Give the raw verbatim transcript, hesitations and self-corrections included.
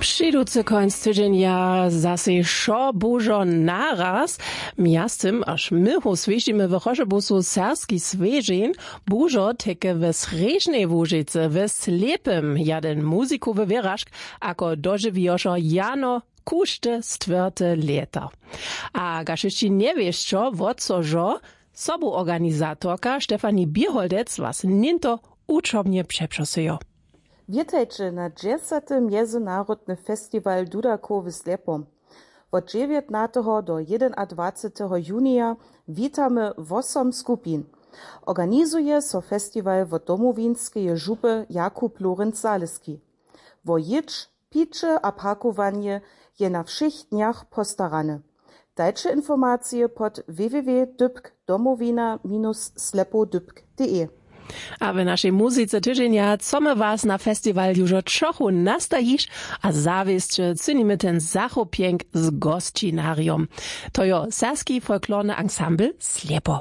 Přiducy końc tydźenja zasej wšo bužo naraz. Mjaztym až my hoswěžimy w Chošebusu serbski swěžeń. Bužo teke w srježnej łužicy w slěpym jaden muzikowy wěražk, ako dožiwijošo jano kužde stwěrte lěto. A kaž hišći njewěsćo wot so žo, sobuorganizatorka stefanie běholdec was něnto wučobnje přepřosyjo. Wětajće na dźesaty mjezynarodny festiwal dudakow w slěpom. Wot dźewjatnateho do jedenadwaceteho junija witamy wosom skupin. Organizuje so festiwal wot domowinskeje župy jakub lorenc zaleski. Wo jědź, piće a parkowanje je na wšěch dnjach postarane. Dajće informacije pod www dypk domowina minus slepow dypk de. A w našej muzyce tydźenja co my was na festiwal južo čochu nastajiš, a zawěsće cynimy ten zachopjenk z gosćinarjom. To jo serbski folklorny ansambl slepo.